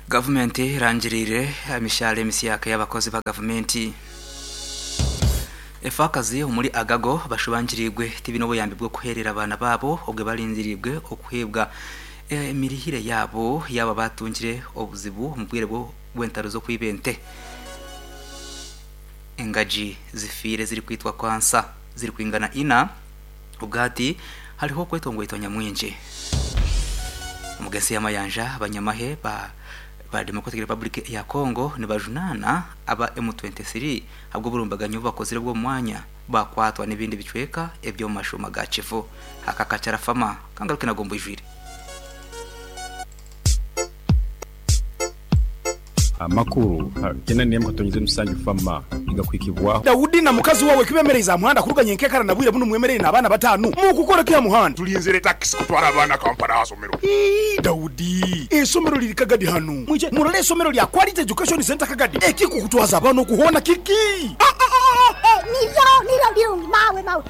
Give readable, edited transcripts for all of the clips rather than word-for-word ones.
Gavumenti erangiriire emishahara emisyaka ey'abakozi ba gavumenti. Efaakazi omuri Agago bashubangiriirwe tibaine obuyambi bw'okuheerera abaana baabo obwe barindiriirwe okuheebwa emirihire yaabo yaaba batungire obuzibu omu bwire bw'entaro z'okwiba ente. Engagi zifiire zirikwitwa kansa zirikwingana ina. Obwahati hariho okwetongwaitwa nyamwingi omu g'ensi y'amayanja. Abanyamahe ba ba Democratic Republic ya Congo nibajunaana aba M23 ahabw'oburumbaganyi obu bakozire bw'omu mwanya bakwatwa n'ebindi bicweka eby'omu mashuuma ga Kivu. Aka kakyarafama kangaruke nago mbwijwire. Amakuru gena n'emwe katonyize musanju fama nigakuhikibwaho. Daudi na mukazi wawe kibemereize aha muhanda kuruga nyenkekara na bwire bunu mwemereire n'abaana batanu mukukora ki aha muhanda? Tulinzire takisi kutwara abaana Kampala aha somero. Ii, Daudi, eisomero liri Kagadi hanu. Mwije murole eisomero lya Quality Education Centre Kagadi. Ekikukutwaza abaana oku hoona kiki? Niryo, niryo birungi mawe, mawe.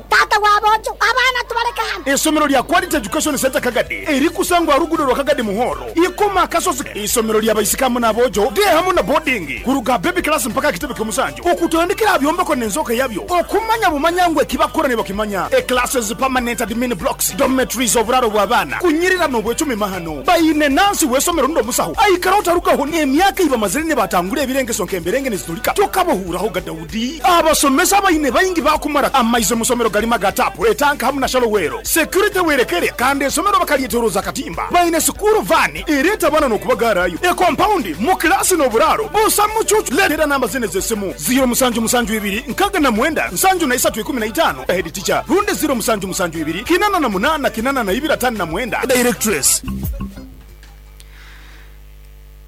Taata wa boojo, abaana tubaleke hanu. Eisomero lya Quality Education Centre Kagadi erikusangwa aha ruguudo rwa Kagadi Muhoro, Ikoma Akasozi. Eisomero lya baisiki hamu n'aboojo, day hamu na boarding, kuruga aha baby class mpaka aha kitebe ky'omusanju, okutandikira aha byombeko n'enzooka yabyo, okumanya bumanya ngu eki bakukora nibakimanya. E Classes, permanent admin blocks, dormitories, oburaaro bw'abaana, kunyirira n'obwecumi mahano. Baine nansi w'eisomero rundi omusaho aikara otarugaho n'emyaka ei bamazire nibatangura ebirengeso nk'emberenge niziturika tokabohuuraho ga Daudi. Abasomesa abaine baingi baakumara amaizi omu somero garimu aga taapu, etanka hamu na shallow well. Security werekere kandi eisomero bakaryetoroza akatimba. Baine sikuuru vaani ereeta abaana n'okubagaarayo. Ekompaundi, mu kilaasi n'oburaaro busa mucuucu. Leetera namba zinu ez'esimu, ziiro musanju musanju ibiri nkaaga na mwenda nsanju na isatu ikumi na itaano, Head teacher, rundi ziiro musanju musanju ibiri kinana na munaana kinana na ibiri ataano na mwenda, Directress.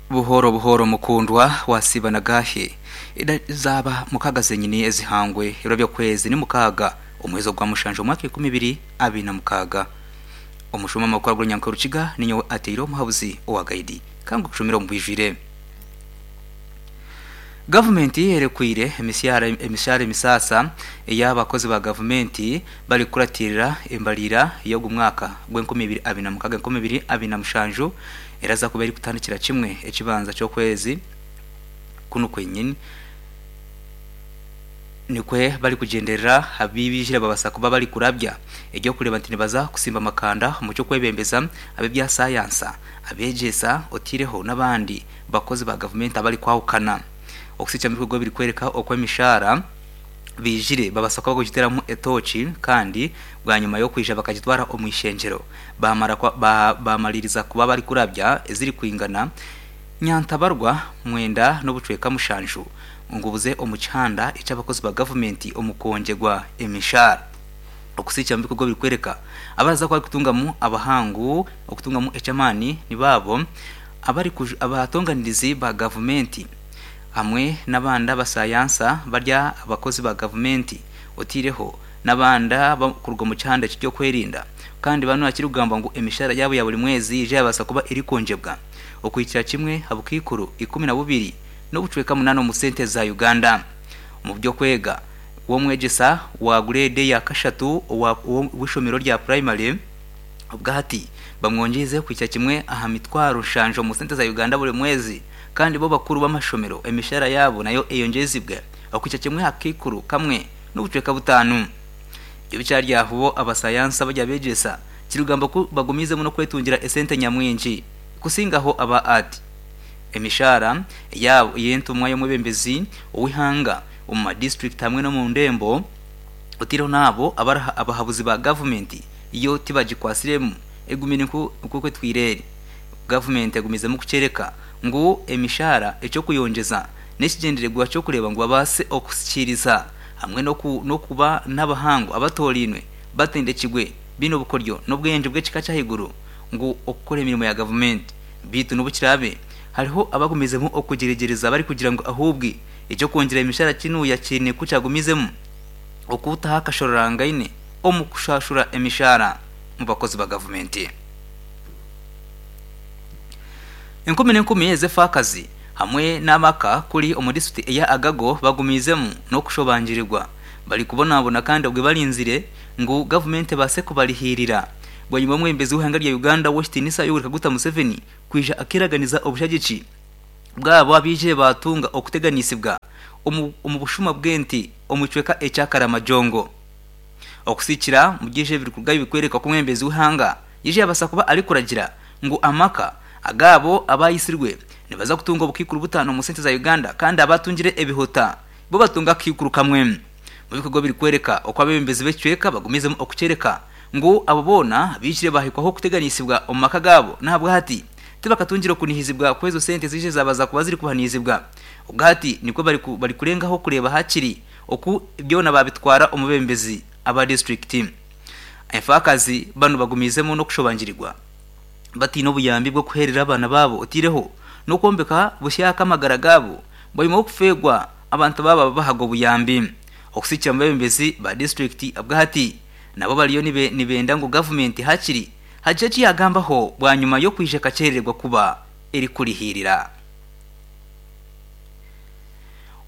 Buhooro buhooro mukundwa wasiiba na gaahi? Eda zaaba mukaaga zenyini ezihangwe ebiro by'okwezi ni mukaaga omwezi ogwa mushanju omwaka 2026. Omushuma amakuru ag'orunyankore Rukiga ninyowe ateire omuhabuzi owa gaidi kangu kushumira omu bwijwire. Gavumenti erekwire emishahara emishahara emisaasa ey'abakozi ba gavumenti barikukuratirira embariira y'ogu mwaka gw'enkumi ibiri abiri na mukaaga enkumi ibiri abiri na mushanju eraza kuba erikutandikira kimwe ekibanza ky'okwezi kunu kwenyini. Nikwe barikugyenderera abu baijire babasa kuba barikurabya ery'okureeba nti nibaza kusimba amakanda omu ky'okwebembeza ab'ebya sayansa, abeegyesa otaireho n'abandi bakozi ba gavumenti abarikwahukana. Okusiikya omu bikorwa ebirikworeka oku emishaara baijire babasa kuba barikugiteeramu etooki kandi bwanyima y'okwija bakagitwara omu ishengyero baamara baamariiriza kuba barikurabya ezirikwingana Nyantabarwa mwenda n'obucweka mushanju ngu buze omu kihanda eky'abakozi ba gavumenti omu kwongyerwa emishaara. Okusiikya omu bikorwa ebirikworeka abaraza kuba barikutungamu abahangu okutungamu eky'amaani nibo abo abatonganirizi ba gavumenti hamwe n'abandi abasayansa bari abakozi ba gavumenti oteireho n'abandi abarikuruga omu kihanda eky'ebyokwerinda kandi banu hakirikugambwa ngu emishaara yaabo ya buri mwezi yaija yabaasa kuba erikwongyebwa. okuhikira kimwe ha bukaikuru 12 n'obucweka munaana omu sente za Uganda. Omu by'okwega, w'omwegyesa wa gureedi eya kashatu owa w'eishomero rya purayimare obwahati bamwongyeize kuhikira kimwe aha mitwaro nshanju omu sente za Uganda buri mwezi kandi bo bakuru b'amashomero emishahara yaabo nayo eyongyezibwe okuhikira kimwe aha kakaikuru kamwe n'obucweka butaanu. Ebyo bikyari aho bo abasayansi abari abeegyesa kirikugamba ku bagumiizemu n'okwetungira esente nyamwingi kusingaho aba art. Emishaara yaabo ey'entumwa y'omwebembezi ow'eihanga omu ma disiturikiti hamwe n'omu ndembo oteireho n'abo abari abahabuzi ba gavumenti yo tibagikwatsiremu egumire nk'oku etwire eri. Gavumenti egumizemu kukyereka ngu emishaara eky'okuyongyeza n'ekigyendererwa ky'okureeba ngu babaase okusikiiriza hamwe n'okuba n'abahangu abatoorainwe batendekirwe baine obukoryo n'obwengye bw'ekika ky'ahaiguru ngu okukora emirimo ya gavumenti. Beitu n'obu kiraabe hariho abagumizemu okugyeregyereza barikugira ngu ahuubwe eky'okwongyera emishara kinuuya kiine ku kyagumizemu okutaho akashororangaine omu kushashura emishara omu bakozi ba gavumenti. Enkumi n'enkumi ez'efaakazi hamwe n'amaka kuri omu disiturikiti eya Agago bagumiizemu n'okushobangirirwa barikubonabona kandi obwe barinzire ngu gavumenti ebaase kubarihiirira. Bwanyima y'omwebembezi w'eihanga rya Uganda ow'ekitiinisa Yoweri Kaguta Museveni kwija akeeraganiza obushagiki bwabo abaijire baatunga okuteganisibwa omu bushuma bw'ente omu kicweka ekya Karamajong. Okusikira omuri ebyo ebirikurugayo bikworeka oku omwebembezi w'eihanga yaija yabaasa kuba arikuragira ngu amaka agaabo abayitsirwe nibaza kutunga obukaikuru butaano omu sente za Uganda kandi abatungire ebihuta bo batunge akakaikuru kamwe. Omu bikorwa ebirikworeka oku abeebembezi b'ekicweka bagumizemu okukyoreka ngu abo boona baijire baahikwaho okuteganisibwa omu maka gaabo n'ahabwahati tibakatungire okunihizibwa kw'ezo sente eziije zaabaza kuba zirikuhaniizibwa. Obwahati nikwo barikurengaho kureeba hakiri oku byona baabitwara omu beebembezi aba disiturikiti. Enfaakazi banu bagumiizemu n'okushobangirirwa bataine obuyambi bw'okuheerera abaana baabo otaireho n'okwombeka busyaaka amagara gaabo bwanyima y'okufeerwa abantu baabo ababahaga obuyambi. Okusikira omu beebembezi ba disiturikiti obwahati nabo bariyo nibenda ngu gavumenti hakiri hagire eki yaagambaho bwanyima y'okwija ekakyerererwa kuba erikurihiirira.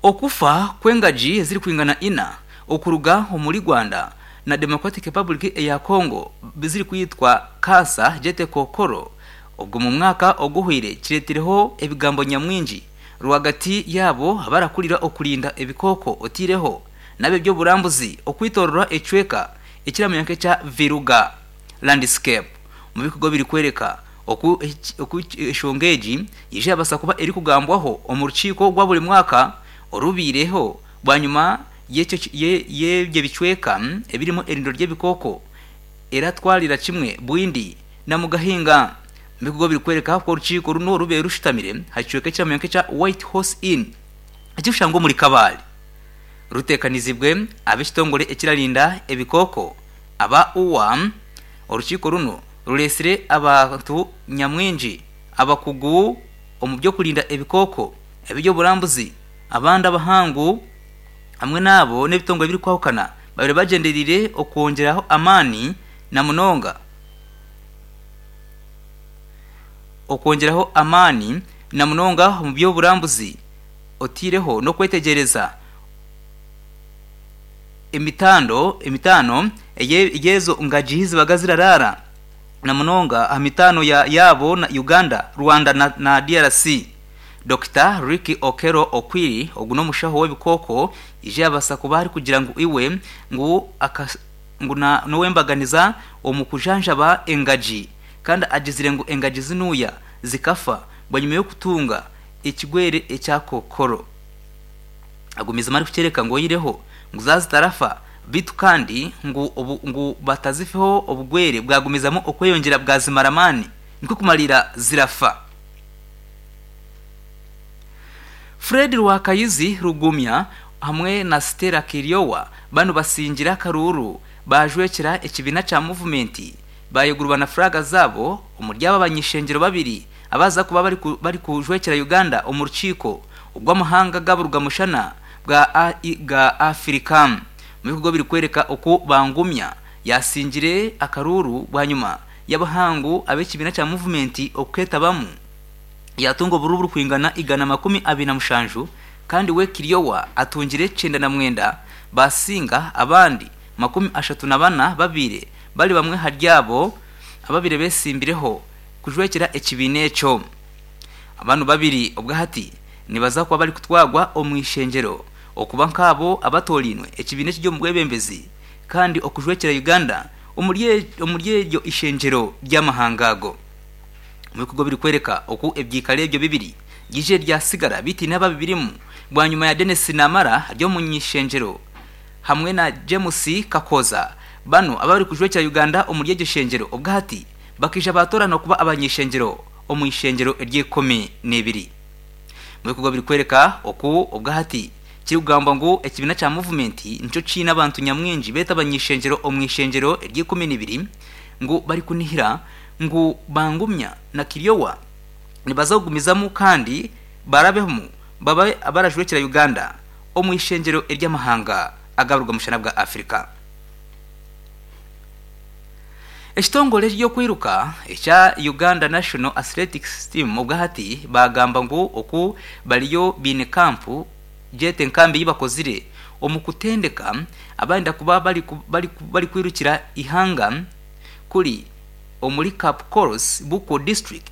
Okufa kw'engagi ezirikwingana ina okuruga omuri Rwanda na Democratic Republic eya Congo zirikwitwa kansa gyete kookoro obwo omu mwaka oguhweire kireetireho ebigambo nyamwingi rwagati yaabo abarakurira okurinda ebikooko oteireho n'ab'eby'oburambuzi okwitorora ekicweka ekiramanywa nk'ekya Viruga Landscape omu bikorwa ebirikworeka oku oku enshonga egi yaija yabaasa kuba erikugambwaho omu rukiiko rwa buri mwaka orubaireho bwanyima y'ebyo bicweka ebirimu erindo ry'ebikooko eratwarira kimwe Bwindi na Mugahinga. Omu bikorwa ebirikworeka oku orukiiko runo rubaire rushutamire aha kicweka ekiramanywa nk'ekya White Horse Inn ekirikushangwa omuri Kabale ruteekanizibwe ab'ekitongore ekirarinda ebikooko aba UWA, orukiiko runo rureetsire abantu nyamwingi abakugu omu by'okurinda ebikooko, eby'oburambuzi, abandi abahangu hamwe n'abo n'ebitongore ebirikwahukana babaire bagyendereire okwongyeraho amaani na munonga okwongyeraho amaani na munonga omu by'oburambuzi otaireho n'okwetegyereza emitando emitaano ey'ezo ngagi zibaga ziraraara na munonga aha mitaano yaabo na Uganda, Rwanda na DRC. Dokita Ricky Okello Okwiri ogu n'omushaho w'ebikooko yaija yabaasa kuba arikugira ngu iwe ngu ngu n'owembaganiza omu kujanjaba engagi kandi agizire ngu engagi zinuya zikafa bwanyima y'okutunga ekigwere ekya kookoro. Agumizemu arikukyereka ngu oihireho ngu zaaba zitarafa beitu kandi ngu obu ngu batazifeho obugwere bwagumizamu okweyongyera bwazimara amaani nikwo kumariira zirafa. Fred Rwakayizi Rugumya hamwe na Stella Kiryowa banu basingire akaruuru baajwekyera ekibiina kya Muvumenti bayegurwa na furaaga zaabo omuri abo abany'ishengyero babiri abaza kuba barikujwekyera Uganda omu rukiiko rw'amahanga g'aburugamushana bwa ga Afirika omu bikorwa ebirikworeka oku Bangumya yaasingire akaruuru bwanyima y'abahangu ab'ekibiina kya Muvumenti okuketabamu yaatunga oburuuru burikwingana 127 kandi we Kiryowa atungire 99 baasinga abandi 34 babaire bari bamwe ahari abo ababaire beetsimbireho kujwekyera ekibiina ekyo. Banu babiri obwahati nibaza kuba barikutwarwa omu ishengyero okuba nk'abo abatoorainwe ekibiina ekiri omu bwebembezi kandi okujwekyera Uganda omuri eryo ishengyero ry'amahanga ago. Omu bikorwa ebirikworeka oku ebyikaro ebyo bibiri byaijire byasigara bitaine ababibirimu bwanyima ya Denis Namara ari omuny'ishengyero hamwe na James Kakooza banu abarikujwekyera Uganda omuri eryo ishengyero obwahati bakaija baatooranwa kuba abany'ishengyero omu ishengyero ery'eikumi n'ebiri. Omu bikorwa birikworeka oku obwahati kirikugambwa ngu ekibiina kya Muvumenti nikyo kiine abantu nyamwingi beeta abany'ishengyero omu ishengyero ery'eikumi n'ibiri ngu barikunihira ngu Bangumya na Kiryowa nibaza kugumizamu kandi barabemu babe abarajwekyera Uganda omu ishengyero ery'amahanga agaburugamushana bwa Afirika. Ekitongore eky'okwiruka ekya Uganda National Athletics Team obwahati baagamba ngu oku bariyo baine kampu gyete enkambi ei bakozire omu kutendeka abarenda kuba barikwirukira eihanga kuri. omuri Kapkoros, Bukwo District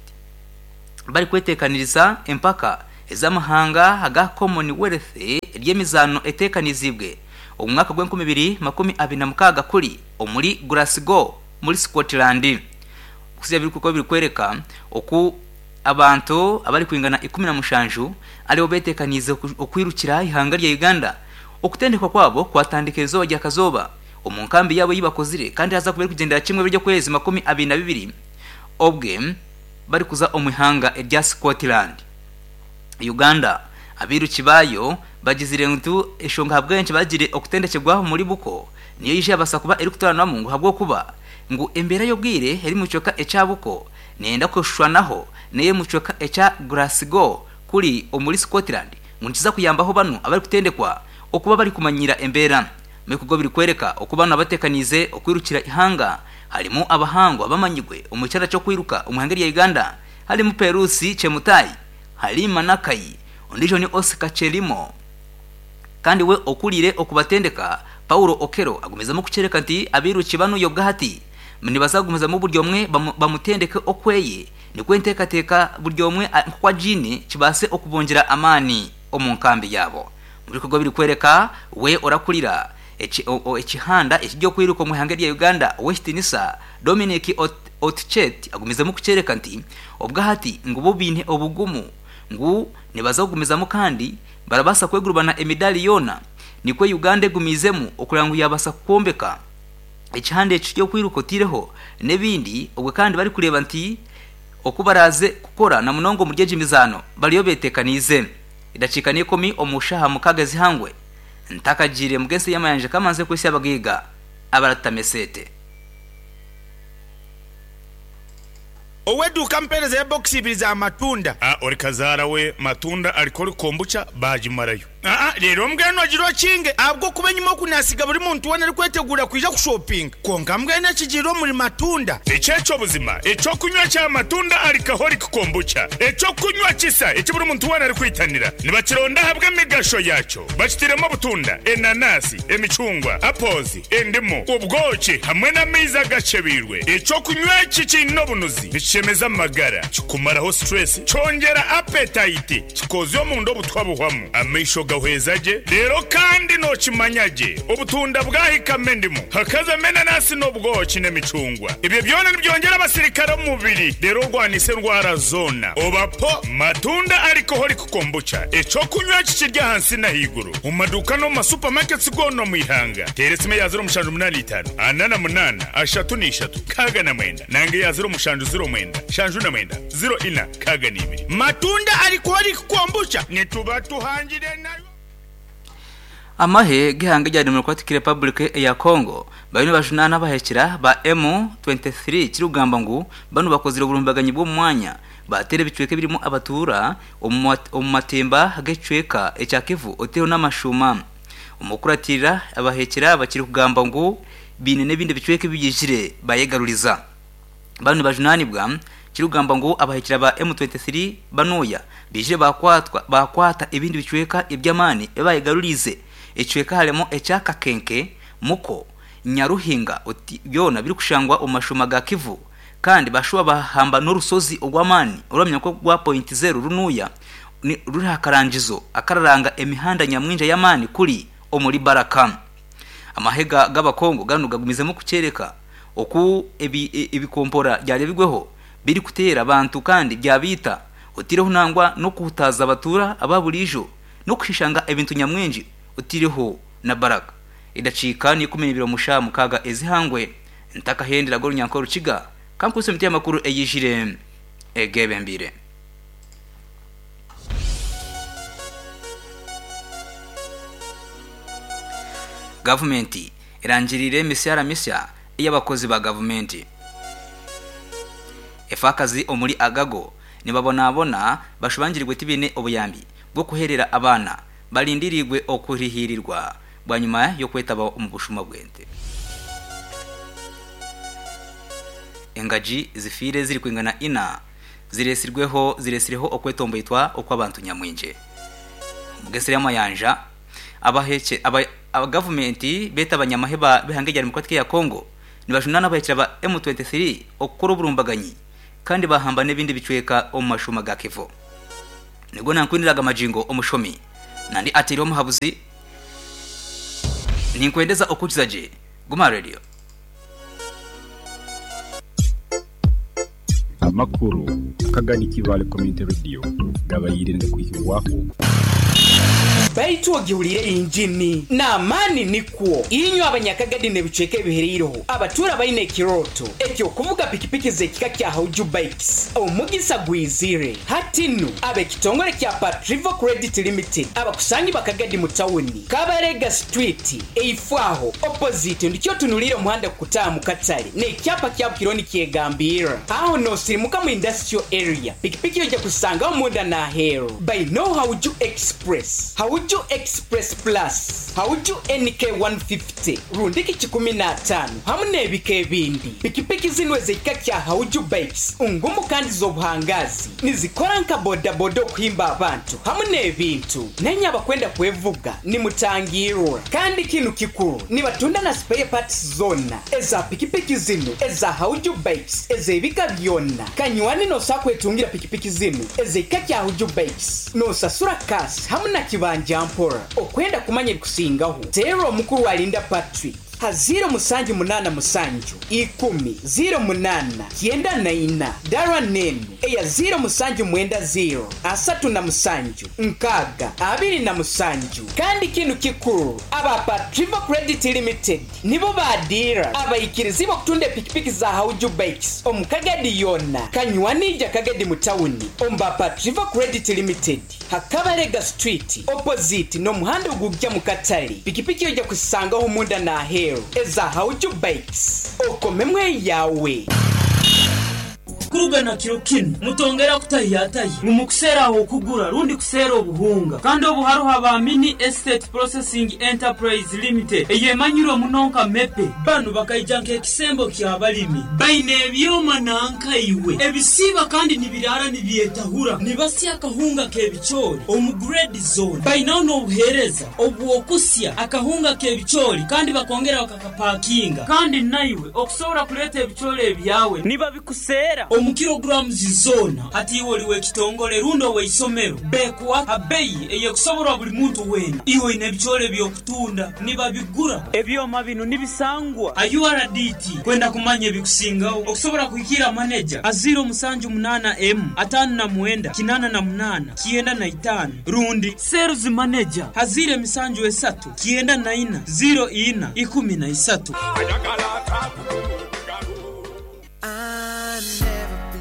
barikweteekaniriza empaka ez'amahanga aga Commonwealth ry'emizaano eteekaniziibwe omu mwaka gw'enkumi ibiri 26 kuri omuri Glasgow muri Scotland. Okuhitsya ebirikuba birikworeka oku abantu abarikwingana 17 aribo beteekaniize okwirukira eihanga rya Uganda. Okutendekwa kwabo kwatandika eizooba rya Kazooba omu nkambi yaabo ei bakozire kandi haza kuba erikugyendera kimwe ebiro by'okwezi 22 obwe barikuza omu ihanga erya Scotland. Uganda abairuki baayo bagizire ngu enshonga ahabw'enki bagire okutendekyerwa omuri Buko niyo eija yabaasa kuba erikutoranwamu ngu ahabw'okuba ngu embeera y'obwire eri omu kicweka ekya Buko neyenda kushushwanaho n'ey'omu kicweka ekya Glasgow kuri omuri Scotland ngu nikiza kuyambaho banu abarikutendekwa okuba barikumanyiira embeera. Omu bikorwa birikworeka oku banu abateekaniize okwirukira eihanga harimu abahangu abamanyirwe omu kyara ky'okwiruka omu ihanga erya Uganda harimu Perusi Chemutai, Halima Nakai, ondiijo ni Oscar Chelimo kandi we okuriire okubatendeka Paulo Okello agumizemu kukyoreka nti abairuki banu obwahati nibaza kugumizamu buri omwe bamutendeke okweye nikwo enteekateeka buri omwe nk'oku agiine kibaase okubongyera amaani omu nkambi yaabo. Omu bikorwa birikworeka we orakurira ekihanda ekiry'okwiruka omu ihanga erya Uganda Ow'ekitinisa Dominic Otchet agumizemu kukyoreka nti obwahati ngu bo baine obugumu ngu nibaza kugumizamu kandi barabaasa kwegurubana emidaari yoona nikwo Uganda egumiizemu okureba ngu yabaasa kwombeka ekihanda eki ky'okwiruka otaireho n'ebindi obwe kandi barikureeba nti oku baraaze kukora na munonga omuri egi mizaano bariyo beteekaniize. Edakiika n'ikumi omu shaaha mukaaga ez'eihangwe, ntakagiire mu g'ensi y'amayanja kamanze kwitsya abagaiga abaratutama eseete. Ow'eduuka ampeereza ebokisi ibiri za matunda. A Ori kazaara we matunda alcoholic kombucha baagimarayo. Aa Reero mbwenu ogire okinge ahabw'okuba enyima oku naasiga buri muntu weena arikweteguura kwija kushopinga. Kwonka mbwenu ekigiire omuri matunda. Eki eky'obuzima, eky'okunywa kya matunda alcoholic kombucha, eky'okunywa kisa eki buri muntu weena arikwitanira. Nibakironda ahabw'emigasho yaakyo. Bakitairemu obutunda, enanasi, emicungwa, apples, endimu, obwoki hamwe n'amaizi agakyebeirwe. Eky'okunywa eki kiine obunuzi, nikishemeza amagara, kikumaraho stress, kyongyera appetite, kikoozya omunda obutwa buhwamu, amaisho gahweza gye, reero kandi nookimanya gye obutunda bwahikamu endimu, hakazamu enanasi n'obwoki n'emicungwa. Ebyo byona nibyongyera abasirikare omu mubiri reero orwanise endwara zoona. Oba po matunda alcoholic Kombucha, eky'okunywa eki kiri ahansi n'ahaiguru omu maduuka n'omu ma supermarkets goona omu ihanga. Teera esimu eya 0785 48 33 69 nanga eya 0709 79 04 62. Matunda alcoholic kombucha nituba tuhangire nayo. Amahe g'eihanga erya Democratic Republic eya Congo bariyo nibajunaana abahekyera ba M 23 kirikugambwa ngu banu bakozire oburumbaganyi bw'omu mwanya Baateera ebicweka ebirimu abatuura omu matemba g'ekicweka ekya Kivu otaireho n'amashuuma. Omu kukuratirira abaheekyera aba kirikugambwa ngu baine n'ebindi bicweka ebi baijire baayegaruriza. Banu nibajunaanibwa kirikugambwa ngu abaheekyera ba M23 banuuya baijire baakwata ebindi bicweka eby'amaani ebi baayegaruriize. Ekicweka harimu ekya Kakenke, Muko, Nyaruhinga byona birikushangwa omu mashuuma ga Kivu. Kandi baashuba baahamba n'orushozi orw'amaani orwamanywa nk'orwa Point Zero runuya ruri aha karangizo akararanga emihanda nyamwingi ey'amaani kuri omuri Baraka. Amahe g'Abakongo ganu gagumizemu kukyereka oku ebikompora byarebirweho birikuteera abantu kandi byabaita, otaireho nangwa n'okuhutaaza abatuura aba buriijo n'okushishanga ebintu nyamwingi otaireho na Baraka. Edakiika n'ikumineibiri omu shaaha mukaaga ez'eihangwe. Ntakahenderaga orunyanka orukiga, ka nkuhitsye emiti y'amakuru eyijire egeebembeire. Gavumenti erangiriire emisyara misya ey'abakozi ba gavumenti. Efaakazi omuri Agago nibabonabona bashubangirwe tibaine obuyambi bw'okuheerera abaana, barindiriirwe okurihiirirwa. bwanyima y'okwetaba omu bushuma bw'ente. Engagi zifiire zirikwingana ina ziretsirweho ziretsireho okwetomboitwa okw'abantu nyamwingi. Omu g'ensi y'amayanja, abahekye aba gavumenti beeta abanyamahe ba b'eihanga erya Democratic eya Congo. Nibajunaana abahekyera ba M23 okukora oburumbaganyi kandi bahamba n'ebindi bicweka omu mashuuma ga Kivu. Nigwo nankwiniraga magingo omushomi nandi ateireho omuhabuzi. Ninkwendeza okukiza gye. Guma aha radio. Amakuru akagani Kibaale Community Radio gabaire nigakwihibwaho. Baitu ogihuriire injini n'amaani nikwo inywe Abanyakagadi n'ebicweka ebihereireho abatuura baine ekirooto eky'okuvuga pikipiki z'ekika kya Hauju Bikes. Omugisa gwizire hati nu ab'ekitongore kya Patrivo Credit Limited abakusangibwa Kagadi mu tawuni, Kabarega Street, eifo aho, opposite, ndikyo otunuliire omuhanda kukutaaha mu katale n'ekyapa kya Bukiro nikyegambirra. Aho noosirimuka mu Industrial Area, pikipiki oija kuzisangaho munda n'aheeru. Baineo Hauju Express, Hauju Express Plus, Hauju NK 150 rundiki 150 hamu n'ebika ebindi. Pikipiki zinu ez'ekika kya Hauju Bikes ngumu kandi z'obuhangaazi. Nizikora nka bodaboda okuhimba abantu hamu n'ebintu. Nainye abakwenda kwevuga nimutangirwa. Kandi kinu kikuru, nibatunda na spare parts zoona eza pikipiki zinu eza Hauju Bikes ez'ebika byona. Kanywani nosobola kwetungira pikipiki zinu ez'ekika kya Hauju Bikes nosasura cash hamu na kibanja mpora. Okwenda kumanya ebikusingaho, teera omukuru Alinda Patrick. Ha ziiro musanju munaana musanju, ikumi, ziiro munaana, kyenda na ina. Dara n'enu eya ziiro musanju mwenda ziiro, 37, 60, 27. Kandi kinu kikuru, aba Patrivo Credit Limited nibo ba diira abaikirizibwe okutunda epikipiki za Hauju Bikes omu Kagadi yoona. Kanywani ija Kagadi mu tawuni omu ba Patrivo Credit Limited. Ha Kabalega Street opposite n'omuhanda ogugya mu katale, pikipiki oija kuzisangaho munda n'aheeru eza Hauju Bikes. Okomemu eyawe. Kuruga na kiro kinu, mutongera kutahiyatahya ngu mukuseera ah'okugura rundi kuseera obuhunga. Kandi obu haroho aba Mini Estate Processing Enterprise Limited eyemanyirwe muno nka MEPE. Banu bakaija nk'ekisembo ky'abalimi. Baine ebyoma nanka iwe, ebisiiba kandi nibiraara nibyetahura, nibasya akahunga k'ebicoori omu grade zoona. Bainaho n'obuheereza obw'okusya akahunga k'ebicoori kandi bakongera bakakapakinga. Kandi naiwe okusobora kuleeta ebicoori ebyawe nibabikuseera omu kilograms zoona. Hati iwe oli w'ekitongole rundi ow'eisomero, bekuha ha beyi ey'ekusoborwa buli muntu weena. Iwe oine ebicoori eby'okutunda, nibabigura. Ebyoma binu nibisangwa ha URDT. Kwenda kumanya ebikusingaho, okusobora kuhikiira maneja ha 078 emu 59 88 95 rundi Sales Manager ha 073 94 04 13.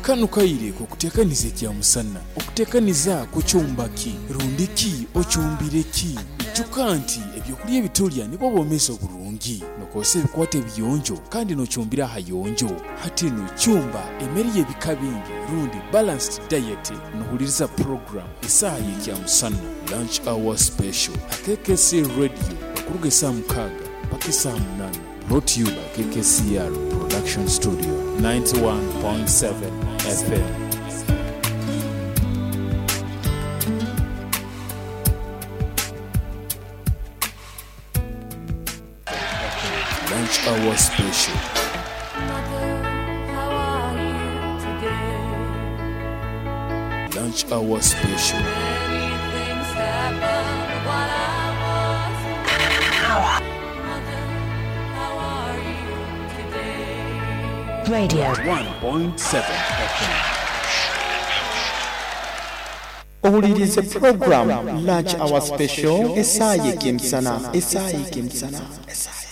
Kanu kaire k'okuteekaniza ekyamusana. Okuteekaniza kucumba ki? Rundi ki ocumbire ki? Ijuka nti ebyokulya ebitulya nibwo bwomeezi oburungi. Nokozesa ebikwato ebiyonjo kandi nocumbira ahayonjo. Hati nu cumba emere y'ebika bingi rundi balanced diet nohuliriza program Esaaha y'Ekyamusana, Lunch Hour Special, ha KKC Radio okuruga esaaha 6 mpaka esaaha 8. Brought to you by KKCR Production Studio, 91.7 FM. Lunch Hour Special. Lunch Hour Special. Radio. 1.7 FM. Owuliriize pulogulaamu Lunch Hour Special esaaha y'ekemisana, esaaha y'ekemisana, esaaha.